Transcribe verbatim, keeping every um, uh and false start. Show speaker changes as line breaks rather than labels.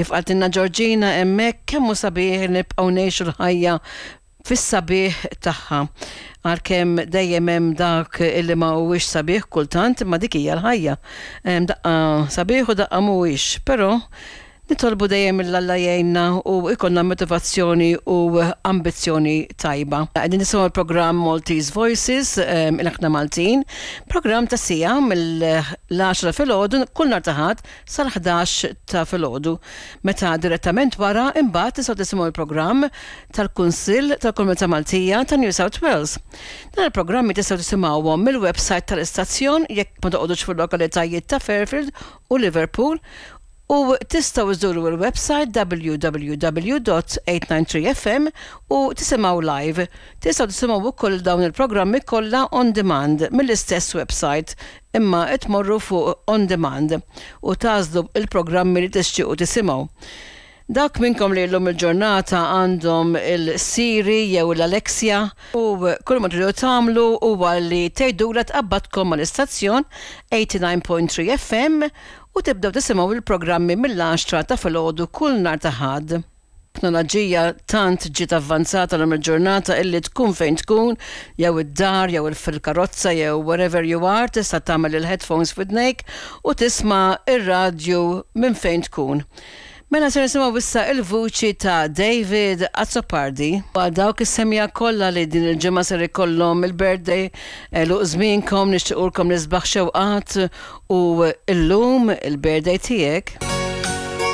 Kif qaltilna Georgina hemmhekk, kemm hu sabiħ nibqgħu ngħixu l-ħajja fis-sabiħ tagħha. Għalkemm dejjem hemm dak illi ma huwiex sabiħ kultant, imma dik hija l-ħajja. Daqqa sabiħ u daqqa mhuwiex, però nitolbu dejjem 'l Alla jgħinna u ikollna motivazzjoni u ambizzjoni tajba. Qegħdin nisimgħu l-programm Maltese Voices, Ilħna Maltin, programm ta' siegħa mill-għaxra filgħodu kull nhar ta' Ħadd sal-ħdax ta' filgħodu. Meta direttament wara imbagħad tistgħu tisimgħu l-programm tal-Kunsill tal-Komunità Maltija ta' New South Wales. Dan il-programmi tistgħu tisimgħuhom mill-website tal-istazzjon jekk ma toqgħodux fil-lokalitajiet ta' Fairfield u Liverpool u tistgħu iżuru il-website W W W dot eight nine three F M u tisimgħu live. Tistgħu tisimgħu wkoll dawn il-programmi kollha on demand mill-istess website, imma tmorru fuq on demand u tagħżlu il-programmi li tixtiequ tisimgħu. Dak minnkom li l-lum il-ġurnata għandhom il-Siri jew l-Alexa u kull ma tridu tagħmlu huwa li tgħidulha tqabbadkom mal-istazzjon eighty-nine point three F M u tibdew tisimgħu il-programmi mill-għaxra ta' filgħodu kull nhar ta' Ħadd. Teknoloġija tant ġiet avvanzata l il-ġurnata illi tkun fejn tkun, jew id-dar, jew fil-karozza, jew wherever you are, tista' tagħmel il-headphones f'widnejk u tisma' ir-radju minn fejn tkun. Mela se nisimgħu issa il-vuċi ta' David Azzopardi. Għal dawk is-semmiegħa kollha li din il-ġimgħa ser ikollhom il-birthday, għeluq żmienkom, nixtiequlkom l-isbaħ xewqat u illum il-birthday tiegħek.